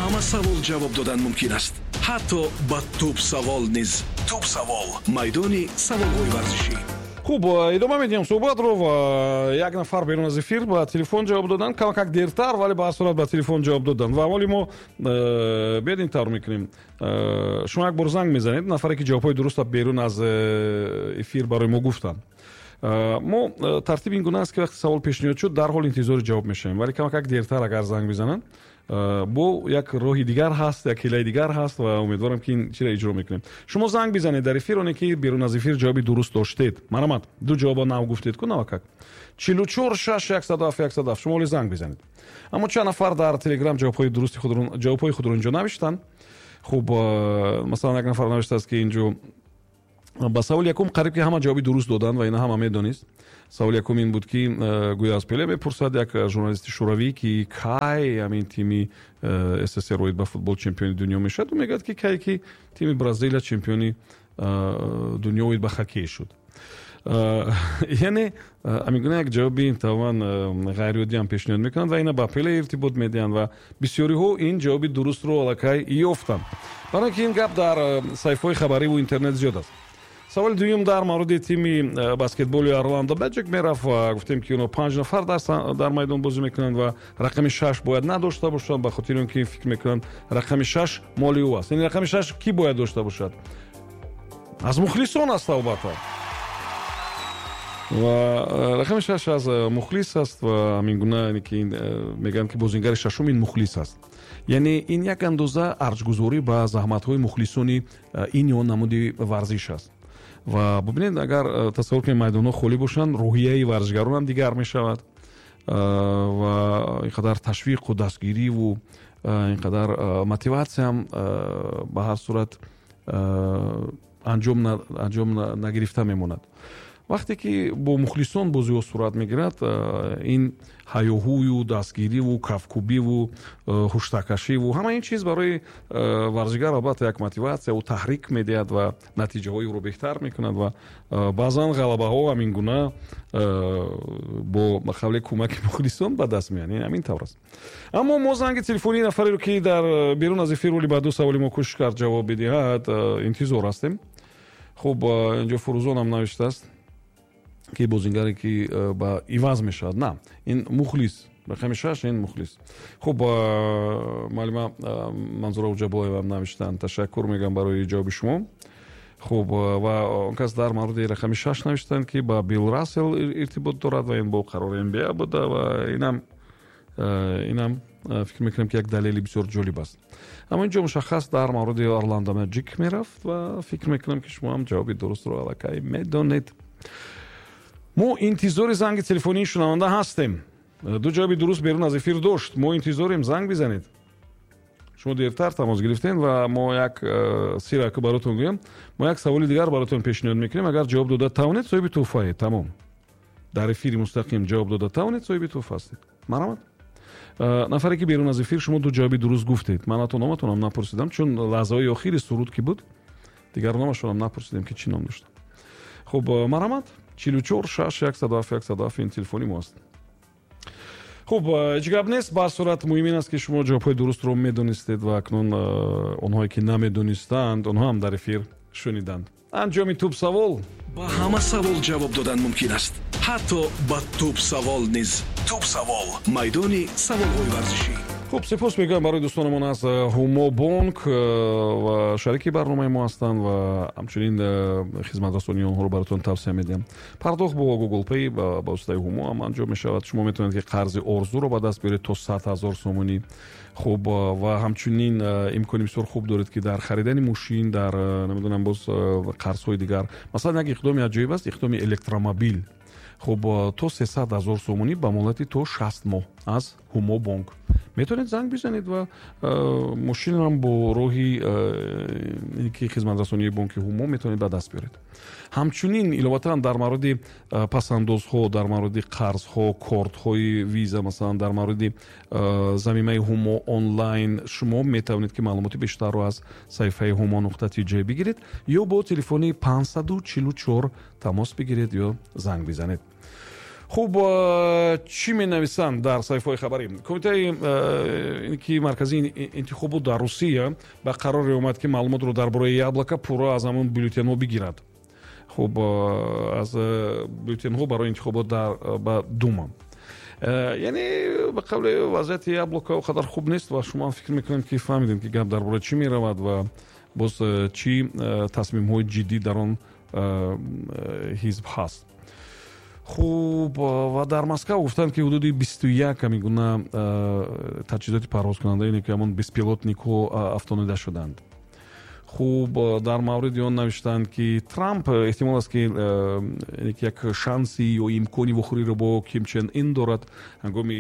Ҳама савол ҷавоб додан мумкин аст, ҳатто ба тӯб савол низ. Тӯб савол, майдони саволҳои варзишӣ. Хуб, идома медиҳем суҳбатро ва як нафар берун аз эфир ба телефон ҷавоб доданд, камакак дертар, вале ба ҳар сурат ба телефон ҷавоб доданд. Ва аввали мо биёед ин тавр мекунем: шумо як бор занг мезанед, нафаре ки ҷавобҳои дурустро берун аз эфир барои мо гуфтанд. Мо тартиб ин гуна аст, ки вақте савол пешниҳод шуд, дарҳол интизори ҷавоб мешавем, вале камакак дертар агар занг бизананд, бо як роҳи дигар ҳаст, як ҳилаи дигар ҳаст ва умедворам, ки ин чиро иҷро мекунем. Шумо занг бизанед дар эфир, оне ки берун аз эфир ҷавоби дуруст доштед. Марҳамат, ду ҷавоба нав гуфтед ку навакак. 44 6 107 107, шумо оли занг бизанед. Аммо чанд нафар дар Телеграм ҷавобҳои дурусти худро, ҷавобҳои худро инҷо навиштанд. Хуб, масалан, як нафар навиштааст, ки инҷо ба саволи якум қариб ки ҳама ҷавоби дуруст доданд ва ина ҳама медонист. Саволи якум ин буд, ки гӯё аз Пеле мепурсад як журналисти шӯравӣ, ки кай ҳамин тими СССР оид ба футбол чемпиони дунё мешавад. Ӯ мегӯяд, ки кай ки тими Бразилия чемпиони дунё оид ба хоккей шуд. Яъне ҳамин гуна як ҷавоби тамоман ғайриоддиам пешниҳод мекунанд ва ина ба Пеле иртибот медиҳанд ва бисёриҳо ин ҷавоби дурустро аллакай ёфтанд, барои ки ин гап дар саҳифаҳои хабариву интернет зиёд аст. Саволи дуюм дар мавриди тими баскетболи Орландо Мэджик мерафт ва гуфтем, ки онҳо панҷ нафар дар майдон бозӣ мекунанд ва рақами шаш бояд надошта бошанд, ба хотири он ки фикр мекунанд, рақами шаш моли ӯ аст. Яъне рақами шаш кӣ бояд дошта бошад? Аз мухлисон аст, албатта, ва рақами шаш аз мухлис аст. Ва ҳамин гуна ки мегӯянд, ки бозингари шашум ин мухлис аст. Яъне ин як андоза арҷгузорӣ ба заҳматҳои мухлисони ин ё намуди варзиш аст. Ва бубинед, агар тасаввур кунед, майдонҳо холӣ бошанд, рӯҳияи варзишгаронам дигар мешавад ва ин қадар ташвиқу дастгириву ин қадар мотиватсиям ба ҳар сурат анҷом нагирифта мемонад. Вақте ки бо мухлисон бозиҳо сурат мегирад, ин ҳаёҳӯю дастгириву кафкӯбиву ҳуштакашиву ҳама ин чиз барои варзишгар албатта як мотиватсияву таҳрик медиҳад ва натиҷаҳои ӯро беҳтар мекунад. Ва баъзан ғалабаҳо ҳамин гуна бо қавли кӯмаки мухлисон ба даст меоянд. Ҳамин тавр аст. Аммо мо занги телефонии нафареро, ки дар берун аз эфир оли ба ду саволи мо кӯшиш кард ҷавоб бидиҳад, интизор ҳастем. Хуб, инҷо Фурӯзонам навиштааст, ки бозингаре ки ба иваз мешавад, на ин мухлис, рақами шаш ин мухлис. Хуб, муаллима Манзура Уҷабоевам навиштанд, ташаккур мегӯям барои ҷавоби шумо. Хуб, ва он кас дар мавриди рақами шаш навиштанд, ки ба Билл Рассел иртибот дорад ва ин бо қарори НБА буда. Ва инам фикр мекунам, ки як далели бисёр ҷолиб аст. Аммо инҷо мушаххас дар мавриди Орландо Мэджик мерафт ва фикр мекунам, ки шумо ҳам ҷавоби дурустро аллакай медонед. Мо интизори занги телефонии шунаванда ҳастем. Ду ҷавоби дуруст берун аз эфир дошт, мо интизорем, занг бизанед. Шумо дертар тамос гирифтем ва мо як сираку баротон гӯям: мо як саволи дигар баротон пешниҳод мекунем, агар ҷавоб дода тавонед, соҳиби тӯҳфаед. Тамом, дар эфири мустақим ҷавоб дода тавонед, соҳиби тӯҳфа ҳастед. Марҳамат, нафаре ки берун аз эфир шумо ду ҷавоби дуруст гуфтед. Ман ҳатто номатонам напурсидам, чун лаҳзаҳои охири суруд ки буд, дигар номашонам напурсидем, ки чӣ ном доштанд. Хуб, марҳамат, 44 6 107 107 ин телефони мо аст. Хуб, ҳеҷ гап нест, ба ҳар сурат муҳим ин аст, ки шумо ҷавобҳои дурустро медонистед ва акнун онҳое ки намедонистанд, онҳо ҳам дар эфир шуниданд. Анҷоми тӯб савол. Ба ҳама савол ҷавоб додан мумкин аст, ҳатто ба тӯб савол низ. Тӯб савол, майдони саволҳои варзишӣ. Хуб, сипос мегӯям барои дӯстонамон аз Ҳумо Бонк ва шарики барномаи мо ҳастанд ва ҳамчунин хизматрасонии онҳоро баротон тавсия медиҳам. Пардохт бо Google Pay ба воситаи Ҳумо ҳам анҷом мешавад. Шумо метавонед, ки қарзи орзуро ба даст биёред то 100 000 сомонӣ. Хуб, ва ҳамчунин имкони бисёр хуб доред, ки дар харидани мошин, дар намедонам, боз қарзҳои дигар. Масалан, як иқдоми аҷоиб аст, иқдоми электромобил. Хуб, то 300 000 сомонӣ ба муҳлати то 60 моҳ аз Ҳумо Бонк. Метавонед занг бизанед ва мошинам бо роҳи ки хизматрасонии бонки Ҳумо метавонед ба даст биёред. Ҳамчунин иловатан дар мавриди пасандозҳо, дар мавриди қарзҳо, кортҳои Виза, масалан, дар мавриди замимаи Ҳумо онлайн шумо метавонед, ки маълумоти бештарро аз саҳифаи humo.tj бигиред ё бо телефони 544 тамос бигиред ё занг бизанед. Хуб, чӣ менависанд дар саҳифаҳои хабарӣ? Кумитаи ки марказии интихобот дар Русия ба қароре омад, ки маълумотро дар бораи Яблоко пурра аз ҳамон бюллетенҳо бигирад. Хуб, аз бюллетенҳо барои интихобот ба Дума. Яъне, ба қавли, вазъияти Яблоко он қадар хуб нест ва шумо фикр мекунем, ки фаҳмидем, ки гап дар бораи чӣ меравад ва боз чӣ тасмимҳои ҷиддӣ дар он ҳизб ҳаст. Хуб, ва дар Москав гуфтанд, ки ҳудуди 21 ҳамин гуна таҷҳизоти парвозкунанда, ине ки ҳамон беспилотникҳо, афтонида шуданд. Хуб, дар мавриди он навиштанд, ки Трамп эҳтимол аст, ки як шанси ё имкони вохӯриро бо Ким Чен Ин дорад ҳангоми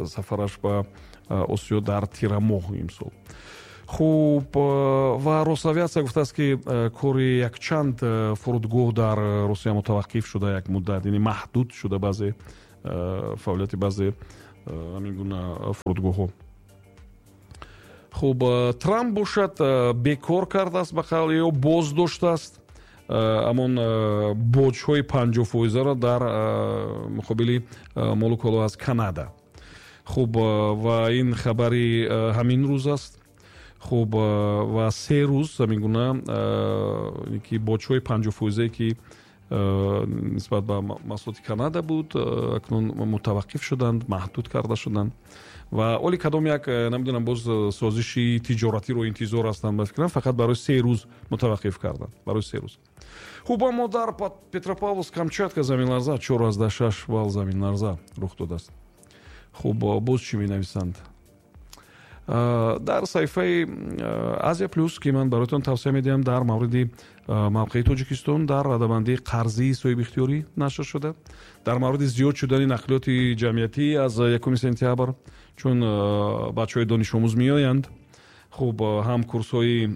сафараш ба Осиё дар тирамоҳ имсол. Хуб, ва Росавиатсия гуфтааст, ки кори якчанд фурудгоҳ дар Русия мутаваққиф шуда як муддат, яъне маҳдуд шуда баъзе фаъолияти баъзе ҳамин гуна фурудгоҳҳо. Хуб, Трамп бошад, бекор кардааст, ба қавли ё боздоштааст ҳамон боҷҳои 50 фоизаро дар муқобили молу коло аз Канада. Хуб, ва ин хабари ҳамин рӯз аст. Хуб, ва 3 рӯз ҳамин гуна ки боҷҳои 50 фоизае, ки нисбат ба маҳсулоти Канада буд, акнун мутаваққиф шуданд, маҳдуд карда шуданд. Ва оли кадом як, намедонам, боз созиши тиҷоратиро интизор ҳастанд, ба фикрам, фақат барои 3 рӯз мутаваққиф карданд, барои 3 рӯз. Хуб, аммо дар Петропавловск Камчатка заминларза, 4,6 балл заминларза рух додааст. Хуб, боз чӣ менависанд дар саҳифаи Азия Плюс, ки ман бароятон тавсия медиҳам? Дар мавриди мавқеи Тоҷикистон дар радабандии қарзии соҳибихтиёрӣ нашр шуда, дар мавриди зиёд шудани нақлиёти ҷамъиятӣ аз 1 сентябр, чун бачаҳои донишомӯз меоянд. Хуб, ҳам курсҳои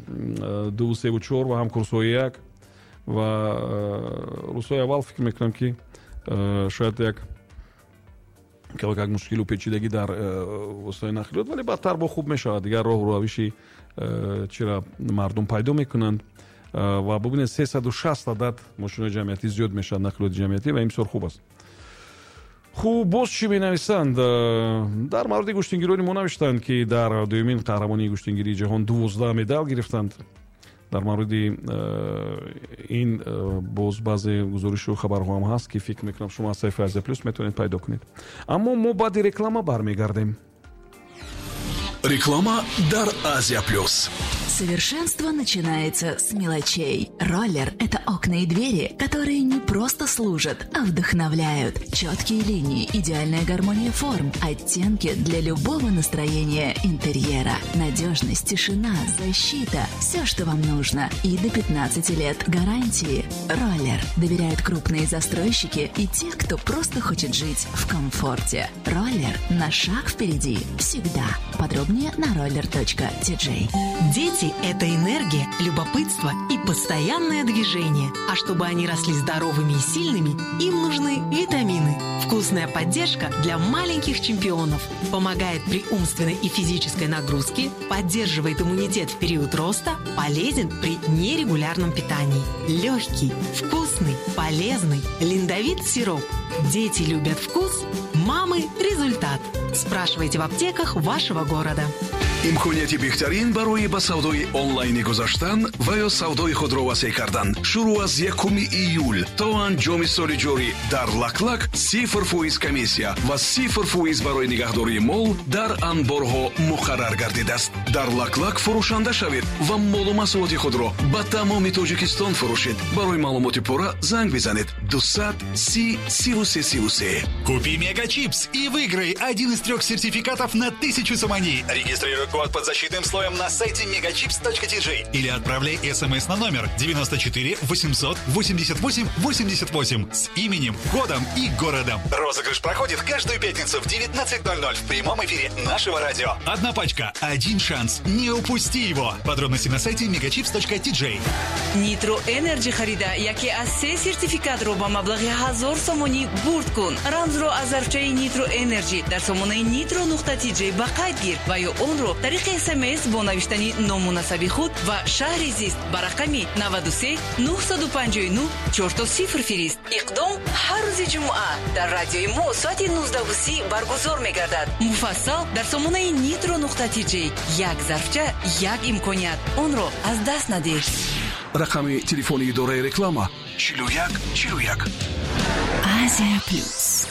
дуву севу чор ва ҳам курсҳои як. Ва рӯзҳои аввал фикр мекунам, ки шояд як мушкилу печидагӣ дар воситаи нақлиёт, вале баъдтар бо хуб мешавад, дигар роҳу равиши чира мардум пайдо мекунанд. Ва бубинед, 360 адад мошинои ҷамъиятӣ зиёд мешавад, нақлиёти ҷамъиятӣ, ва ин бисёр хуб аст. Хуб, боз чӣ менависанд? Дар мавриди гӯштингирони мо навиштанд, ки дар дуюмин қаҳрамонии гӯштингирии ҷаҳон 12 медал гирифтанд. Дар мавриди ин боз баъзе гузоришу хабарҳо ҳам ҳаст, ки фикр мекунам, шумо аз саҳифаи Азия Плюс метавонед пайдо кунед. Аммо мо баъди реклама бармегардем. Реклама дар Азия Плюс. Совершенство начинается с мелочей. Роллер – это окна и двери, которые не просто служат, а вдохновляют. Четкие линии, идеальная гармония форм, оттенки для любого настроения интерьера. Надежность, тишина, защита – все, что вам нужно. И до 15 лет гарантии. Роллер. Доверяют крупные застройщики и те, кто просто хочет жить в комфорте. Роллер на шаг впереди. Всегда. Подробнее на roller.tj. Дети – это энергия, любопытство и постоянное движение. А чтобы они росли здоровыми и сильными, им нужны витамины. Вкусная поддержка для маленьких чемпионов. Помогает при умственной и физической нагрузке, поддерживает иммунитет в период роста, полезен при нерегулярном питании. Легкий, вкусный, полезный. Линдовит сироп. Дети любят вкус, мамы – результат. Спрашивайте в аптеках вашего города. Имконияти беҳтарин барои ба савдои онлайнӣ гузаштан ва ё савдои худро васеъ кардан шурӯъ аз 1 июл то анҷоми соли ҷорӣ дар Лаклак 0% комиссия ва 0% барои нигаҳдории мол дар анборҳо муқаррар гардидааст. Дар Лаклак фурӯшанда шавед ва молу маҳсулоти худро ба тамоми Тоҷикистон фурӯшед. Барои маълумоти пурра занг бизанед: 200 30 33 33. Купи Мега Чипс и выиграй один из трех сертификатов на 1000 сомони. Регистрируй код под защитным слоем на сайте megachips.tj или отправляй смс на номер 94 888 88 с именем, годом и городом. Розыгрыш проходит каждую пятницу в 19.00 в прямом эфире нашего радио. Одна пачка, один шанс. Не упусти его. Подробности на сайте megachips.tj. Нитро Энерджи харида, яке аз се сертификатро ба маблағи 1000 сомонӣ бурд кун. Рамзро аз зарфчаи Нитро Энерджи дар сомонаи nitro.tj ба қайд гир ва ё онро Тариқи СМС бо навиштани ному насаби худ ва шаҳри зист ба рақами 93 959 00 фирист. Иқдом ҳар рӯзи ҷумъа дар радиои мо соати 19:30 баргузор мегардад. Муфассал дар сомонаи nitro.tj. Як зарфча, як имконият, онро аз даст надиҳ. Рақами телефони идораи реклама: 41 41. Азия Плюс.